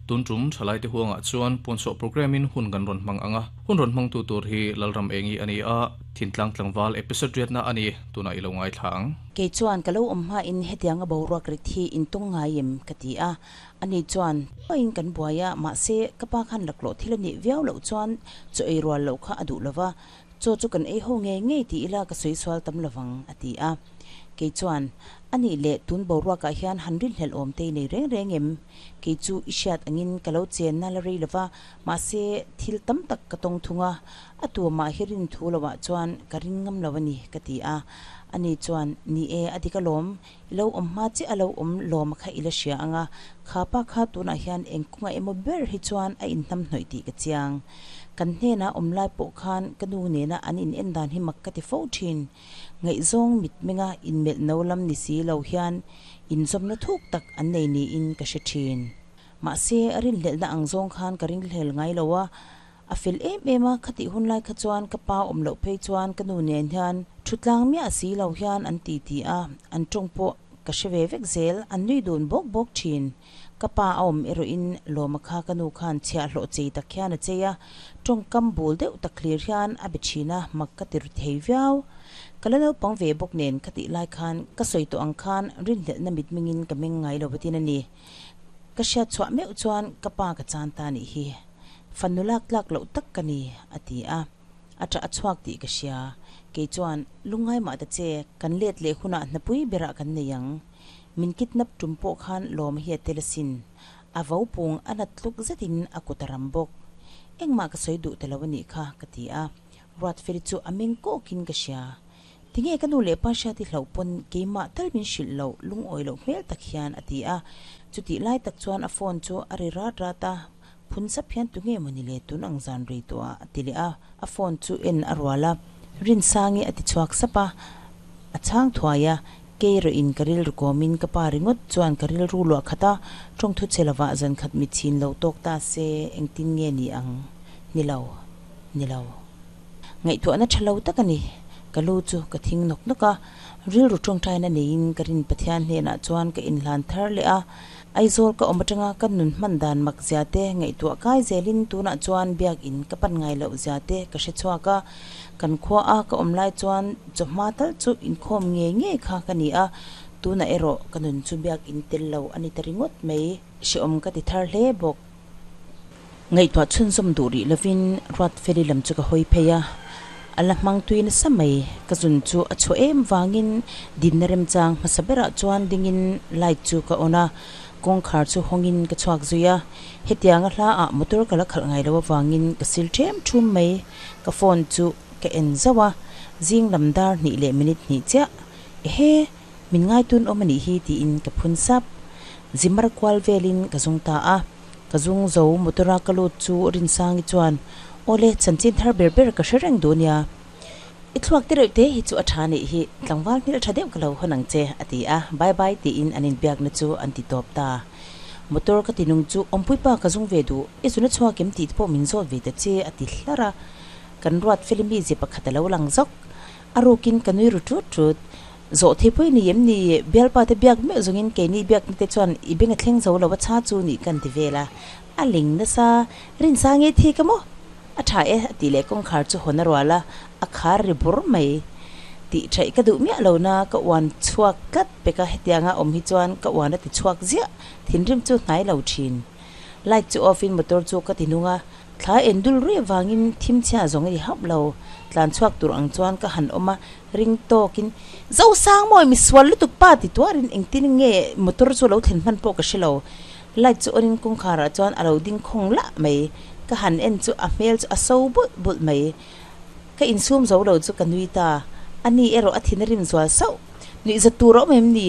Tun tum thalaite huangah chuan puanchhuah programme in hun kan rawn hmang ang a, hun rawn hmangtu tur hi Lalram Engi a ni a, Thintlang Tlangval episode riatna a ni, tunah i lo ngaithla ang. Kei chuan ka lo awm hmain hetianga boruak rit hi in tung ngai em? ka ti a, ani chuan, Pain kan buai a, mahse ka pa khan laklawh thil a nih viau loh chuan chaw ei rual loh kha a duh lo va, Chaw chu kan ei ho ngei ngei ti ila ka sawi sual tam lovang, a ti a. Kei chuan, A nih leh tun boruakah hian han rinhlelh awm te i nei reng reng em? Kei chu i hriat angin ka lo chenna la rei lova, mahse thil tam tak ka tawng thung a, a tuamah hi rin thu lovah chuan ka ring ngam lo a ni, ka ti a. Ani chuan, Ni e, a dik alawm, i lo awm hma chiah a lo awm lawm kha i la hria ang a, kha pa kha tunah hian eng kawngah emaw ber hi chuan a inhnamhnawih tih ka chiang. Kan hnenah awm lai pawh khan ka nu nena an in en dan hi mak ka ti fo thin. Ngaihzawng mitmenga inmelh no lam ni si lo hian inzawmna thuk tak an nei niin ka hre thin. Mahse, rinhlelhna ang zawng khan ka ringhlel ngai lo a, a fel em em a, khatih hun lai kha chuan ka pa awm loh phei chuan ka nu nen hian thutlang miah si lo hian an ti ti a, an tawng pawh ka hre ve vek zel, an nui dun bawk bawk thin. Ka pa a awm erawhin Lawma kha ka nu khan chhiahhlawh chei tak hian a chei a, tawngkam bul deuh tak hlir hian a be thin a, mak ka ti ru thei viau. Ka la naupang ve bawk nen ka tih lai khan ka sawi tawh ang khan rinhlelhna mitmingin ka meng ngai lo vatin a ni. Ka hriat chhuah meuh chuan ka pa ka chan ta nih hi. Fanu lak tlak loh tak ka ni, a ti a. A ṭah a chhuak tih ka hria. Kei chuan, Lungngai mah ta che, kan let leh hunah hnapui berah kan nei ang. Min kidnap tum pawh khan lawm hi a tel asin. A vo pung a nat tluk zetin a kut a ram bawk. Engmah ka sawi duh ta lo a nih kha, ka ti a. Ruatfeli chu a meng kawkin ka hria. Tinge ka nu leh pa hriat i hlauh pawn keimah tal min hrilh loh lungawi loh hmel tak hian a ti a. Chutih lai tak chuan a phone chu a ri rat rat a, phun sap hian tunge mawni le tun ang zan rei tawh ah a ti leh a. A phone chu en a rual a, Rinsangi a ti chhuak sap a, a chhang thuai a, Kei rawhin ka rilru kawmin ka pa ringawt chuan ka rilru luah khat a, tawngthu che lovah zan khat mit chhin lo tawk ta se engtin nge ni ang? Ni lo, ni lo. Ngaihtuahna tha lo tak a ni. Ka lu chu ka thing nawk nawk a, rilru tawngtaina neiin ka rin Pathian hnenah chuan ka inhlan thar leh a. Aizawl ka awm atanga ka nun hman dan mak zia te ngaihtuah kai zelin tunah chuan biakin ka pan ngai loh zia te ka hre chhuak a. Kan khua a ka awm lai chuan chawhma tal chu inkhawm ngei ngei kha ka ni a, tunah erawh ka nun chu biakin tel lo a ni ta ringawt mai. Hrehawm ka ti thar hle bawk. Ngaihtuah chhunzawm duh rih lovin Ruatfeli lam chu ka hawi phei a, a la hmang tui nasa mai. Ka zun chu a chhuah em vangin dinna remchang hmasa berah chuan dingin light chu ka on a, kawngkhar chu hawngin ka chhuak zui a. Hetianga hla ah motor ka la khalh ngai lo avangin ka sil ṭhem ṭhum mai. Ka phone chu ka en zauh a, zing lam dar hnih leh minute hnih chiah. Ehe! Min ngaitun awm a nih hi tiin ka phun sap. Zimar kual velin ka zung ta a. Ka zung zo motor a ka lut chu Rinsangi chuan, Awle, chanchin thar ber ber ka hre reng duh nia. I thluak te reuh te hi chu a tha nih hi, tlangval hmel tha deuh ka lo hawn ang che, a ti a. Bye bye tiin an inbiakna chu an ti tawp ta. Motor ka ti nung chu awmpuipa ka zung ve duh, i zuna chhuak em tih te pawh min zawt ve ta che, a ti hlar a. Kan ruat felimi ze pakhat a lo lang zawk. A rukin ka nui ru tut tut. Zawh thei pawh i ni em ni? Bialpa te biak meuh zawngin keini biakna te chuan i beng a thleng zo lo a cha chu nih kan ti vel a. A ling nasa, Rinsa nge thi ka maw? A tha e a tih leh kawngkhar chu hawn a rual a, a khar ri bur mai. Tih thaih ka duh miah lo na ka uan chhuak tlat pek a, hetianga awm hi chuan ka uan a ti chhuak ziah, thinrim chu hnai lo thin. Light chu off in motor chu ka ti nung a, Thla en dul ruih avangin thim chhia zawng i hauh lo. Tlan chhuak tur ang chuan ka han awm a, ring tawkin, Zosangmawi, mi sual lutuk pa ti tuarin engtin nge motor chu lo thlen hman pawh ka hre lo. Light chu on in kawngkharah chuan a lo ding khawng lah mai. Ka han en chu a hmel chu a so bulh bulh mai. Ka insum zo lo chu ka nui ta. Ani erawh a thin a rim zual sauh. Nuih za tur a awm em ni?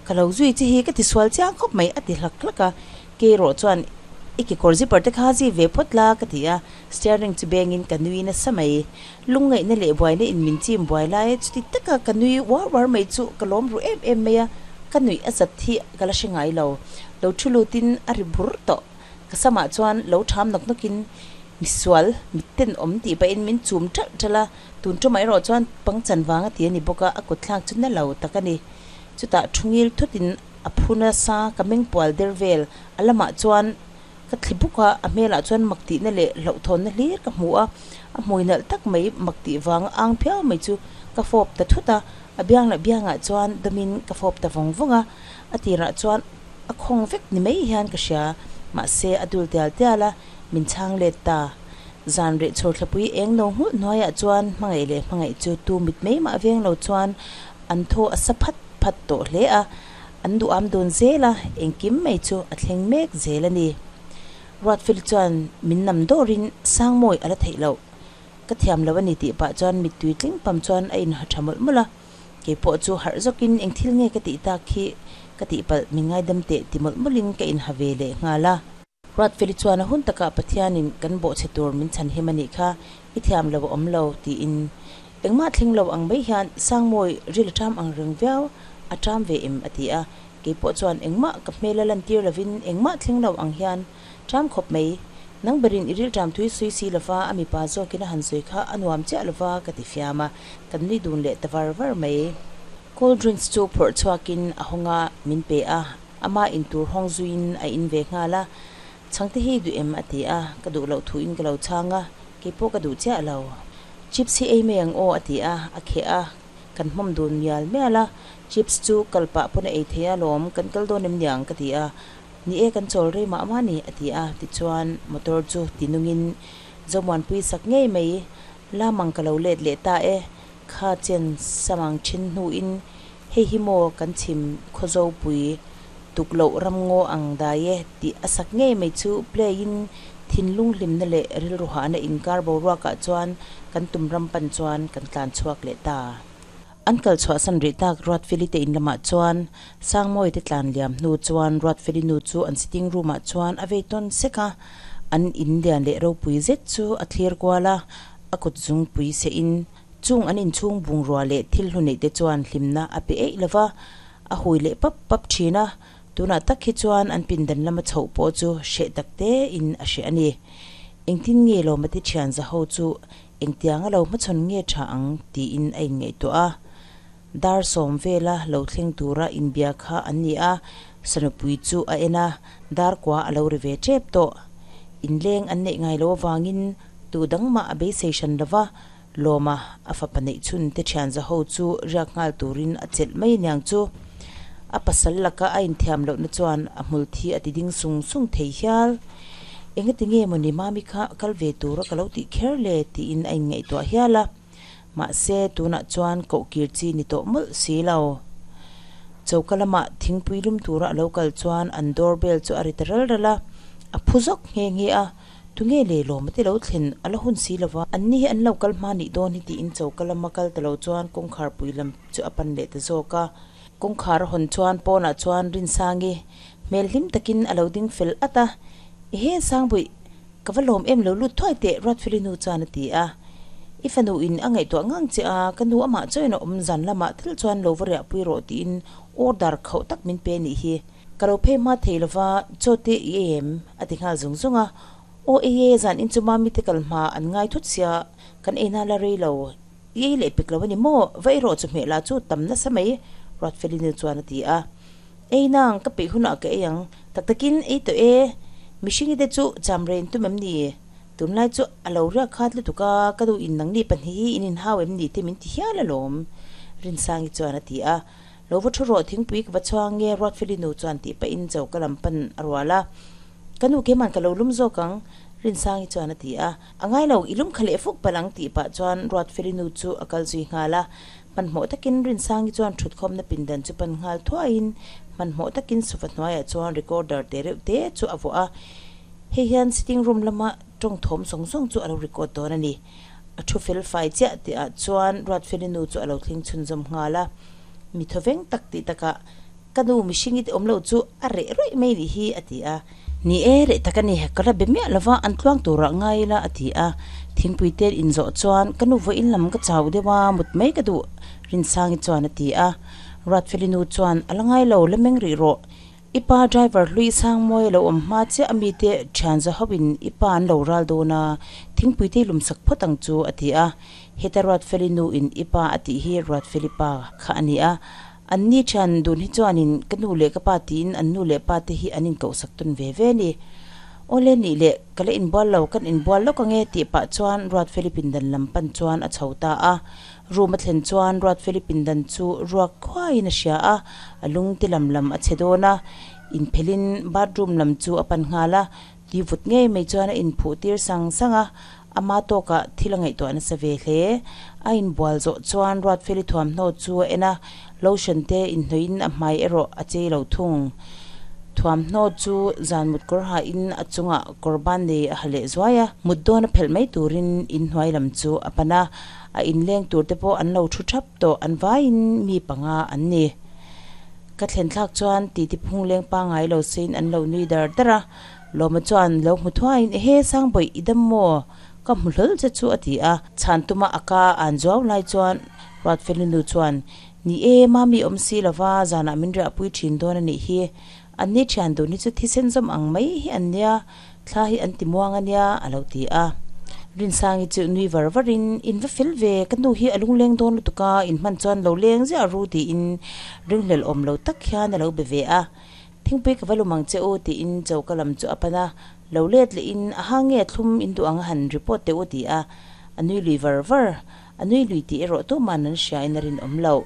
Ka lo zui che hi ka ti sual chiang khawp mai a ti hlak hlak a. Keirawh chuan i kekawr zipper te kha zip ve phawt la ka ti a, steering chu bengin ka nui nasa mai. Lungngaihna leh buaina in min chim buai lai chuti taka ka nui uar uar mai chu ka lawm ru em em mai a, ka nuih a zat hi ka la hre ngai lo. Lo thu lutin a ri bur tawh. Ka samah chuan lo ṭham nawk nawkin misual, mitten awm tih pahin min chum ṭalh ṭalh a, tun ṭumah erawh chuan pangchan vang a ti a ni bawk a, a kutthlak chu na lo tak a ni. Chutah thu ngil thutin a phu nasa ka meng pual der vel, a lamah chuan Ka thli buk a, a hmelah chuan mak tihna leh hlauhthawnna hlir ka hmu a, a hmui nalh tak mai mak tih vanga ang phiau mai chu ka fawp ta thut a, a biang leh biangah chuan dawmin ka fawp ta vawng vawng a, a tirah chuan a khawng vek ni mai hian ka hria, mahse a dul tial tial a, min chhang let ta. Zan reh chhawr thlapui eng no nghulh hnuaiah chuan hmangaih leh hmangaih chu tu mit mai mah veng lo chuan an thaw a sa phat phat tawh hle a, An duham dun zel a, engkim mai chu a thleng mek zel a ni. Ruatfeli chuan min nam dawrin Sangmawi a la theih loh. Ka thiam lo a ni tih pah chuan mittui tling pam chuan a inha tha mawlh mawlh a. Kei pawh chu harh zawkin eng thil nge ka tih tak hi ka tihpalh min ngaidam teh ti mawlh mawlhin ka inha ve leh nghal a. Ruatfeli chuan a hun takah Pathianin kan bawhchhe tur min chhan him a nih kha, i thiam lo a awm lo, tiin engmah thleng lo ang mai hian Sangmawi ril a ṭam ang reng viau, a ṭam ve em a ti a, kei pawh chuan engmah ka hmel a lantir lovin engmah thleng lo ang hian ṭam khawp mai, nang berin i ril ṭam thui sui si lova a mipa zawkin a han sawi kha a nuam chiah lova ka ti fiam a, kan nui dun leh ta var var mai. Cold drinks chu phawrh chhuakin a hawng a, min pe a. Ama in tur hawng zuiin a in ve nghal a, Chhangte hi duh em? a ti a, ka duh loh thuin ka lo chhang a, keipawh ka duh chiah lo. Chips hi ei mai ang aw a ti a, a kheh a, kan hmawm dun mial mial a, chips chu kal pah pawn a ei thei a lawm, kan kal dawn em niang ka ti a, ni e kan chawl rei mah mah ni a ti a, tichuan motor chu ti nungin Zomuanpui sak ngei mai, lamang ka lo let leh ta e, kha chen samang then hnuin Hei hi maw kan chhim Khawzopui tuk loh ramngaw ang dai e tih a sak ngei mai chu play in thinlung hlimna leh rilru hahna inkar boruakah chuan kan tum ram pan chuan kan tlan chhuak leh ta. An kal chhuahsan rih tak Ruatfeli te in lamah chuan Sangmawi te tlan liam hnu chuan Ruatfeli nu chu an sitting room ah chuan a vei tawn sek a, an in lian leh ropui zet chu a thlir kual a, a kut zungpui seh in Chung an inchhung bungrua leh thil hlu neih te chuan hlimna a pe eih lova, a hui leh pap pap thin a, tunah tak hi chuan an pindan lama chhoh pawh chu hreh tak te in a hreh a ni. Engtin nge Lawmate thian zaho chu engtianga lo hmachhawn nge tha ang tiin a inngaihtuah a. Dar sawm vela lo thleng tura inbia kha an ni a, Sanupui chu a en a, dar kua a lo ri ve tep tawh. Inleng an neih ngai lo avangin tu dang mah a beisei hran lova, Lawma, a fapa neih chhun te thian zaho chu riak nghal turin a chelh mai aniang chu. A pasal laka a inthiam lohna chuan a hmul thi a ti ding sung sung thei hial. Engati nge mawni Mami kha kal ve tura ka lo tih kher le tiin a inngaihtuah hial a. Mahse, tunah chuan koh kir chi ni tawh mawlh si lo. Choka lamah thingpui lum tura a lo kal chuan an door bell chu a ri ta ral ral a, a phu zawk nghe nghe a. Tunge le lawm ati lo thlen a la hun si lova, anni hi an lo kal hma nih dawn hi tiin choka lama kal ta lo chuan kawngkhar pui lam chu a pan leh ta zawk a. Kawngkhar a hawn chuan pawnah chuan Rinsangi hmel hlim takin a lo ding fel at a, Ehe Sangbuih, ka va lawm em lo lut thuai teh Ruatfeli nu chuan a ti a. I fanu in a ngaihtuah ngang che a, ka nu amah chawiin a awm zan lamah thil chuan lo va riahpui rawh tiin order khauh tak min pe nih hi. Ka lo phei hma thei lova, chaw te i ei em? a ti nghal zung zung a. Aw ei e, zan in chu mami te kal hma an ngai thut sia, kan ei na la rei lo. I ei leh pek lo a ni maw? Va ei rawh chu hmeh lah chu tam nasa mai, Ruatfelinu chuan a ti a. Ei nang, ka peih hunah ka ei ang. Tak takin ei tawh e, mihringi te chu cham rei in tum em ni? Tunlai chu a lo riak khat lutuk a, ka duh in nangni pahnih hi in inhau em ni te min ti hial alawm, Rinsangi chuan a ti a. Lo va thu rawh thingpui ka va chhuang nge Ruatfeli nu chuan tih pahin choka lam pan a rual a. Ka nu keimah ka lo lum zawk ang Rinsangi chuan a ti a. A ngai lo, i lum kha leh fuk palh ang tih pah chuan Ruatfeli nu chu a kal zui nghal a. Hmanhmawh takin Rinsangi chuan thutkhawmna pindan chu pan nghal thuaiin hmanhmawh takin sofa hnuaiah chuan recorder te reuh te chu a vuah a. Hei hian sitting room lama tawng thawm zawng zawng chu a lo record dawn a ni. A thu fel fai chiah tihah chuan Ruatfeli nu chu a lo thleng chhunzawm nghal a. Mi thawveng tak tih takah, Ka nu mihring i ti awm lo chu a reh rawih mai nih hi, a ti a. Ni e, reh tak a ni, ka la be miah lova, an tluang turah ngai ila, a ti a. Thingpui te inzawh chuan, Ka nu vawiin lam ka chau deuh a, mut mai ka duh, Rinsangi chuan a ti a. Ruatfeli nu chuan, A la ngai lo, la meng rih rawh. I pa driver hlui Sangmawi a lo awm hma chiah a mite thian za hoin i pa an lo ral dawn a, thingpui te i lumsak phawt ang chu, a ti a. Heta Ruatfeli nu in i pa a tih hi Ruatfeli pa kha a ni a. An ni thian dun hi chuanin ka nu leh ka pa tiin an nu leh pa te hi an inkohsak tawn ve ve a ni. Awle nih leh ka la inbual lo, kan inbual lawk ange tih pah chuan Ruatfeli pindan lam pan chuan a chho ta a. Room a thlen chuan Ruatfeli pindan chu ruak khuaiin a hria a, a lung ti lam lam a che dawn a. Inphelhin bathroom lam chu a pan nghal a, tui vut ngei mai chuan a inphuh tir sang sang a, ama tawkah thil a ngaihtuah nasa ve hle. A inbual zawh chuan Ruatfeli thuamhnaw chu a en a, Lotion te inhnawih in a hmai erawh a chei lo thung. Thuamhnaw chu zan mut kawr ha in a chungah kawr ban nei a ha leh zuai a, mut dawn a phelh mai turin inhnuai lam chu a pan a, a inleng tur te pawh an lo thu thap tawh an vaiin mi panga an ni. Ka thlen thlak chuan titi phung leng pangai lo sein an lo nui dar dar a, Lawma chuan lo hmu thuaiin ehe Sangbawih i dam maw? Ka hmu hlawl che chu a ti a, chhan tuma a ka an zuau lai chuan Ruatfelinu chuan, Ni e, Mami awm si lova, zanah min riahpui thin dawn a nih hi. An ni thian dun hi chu thisen zawm ang mai hi an nia, thla hi an ti muang a nia, a lo ti a. Rinsangi chu nui var varin, In va fel ve, ka nu hi a lungleng dawn lutuk a, in hman chuan lo leng ziah ru tiin ringhlel awm lo tak hian a lo be ve a. Thingpui ka va lum ang che u tiin choka lam chu a pan a, lo let lehin a ha nge thlum in duh ang a han report teh u ti a, a nui lui var var. A nui lui tih erawh tuman an hria in a rinawm loh.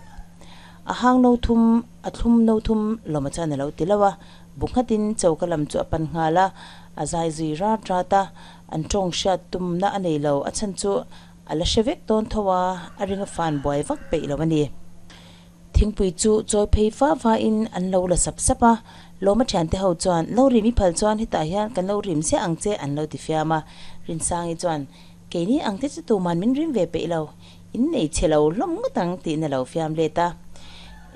A hang no thum, a thlum no thum lawma chuan a lo ti lo a, bu nghatin choka lam chu a pan nghal a, a zai zui rat rat a, an tawng hriat tumna a nei lo, a chhan chu a la hre vek dawn tho a, a ring a fan buai vak peih lo a ni. Thingpui chu chawi phei va va in an lo la sap sap a, Lawma thiante ho chuan lo rim i phal chuan hetah hian kan lo rim ziah ang che an lo ti fiam a, Rinsangi chuan Keini ang te chu tuman min rim ve peih lo, in nei chhe lo hlawm ngawt ang tiin a lo fiam let a.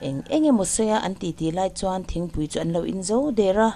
Eng eng emaw sawi a an titi lai chuan thingpui chu an lo in zo der a.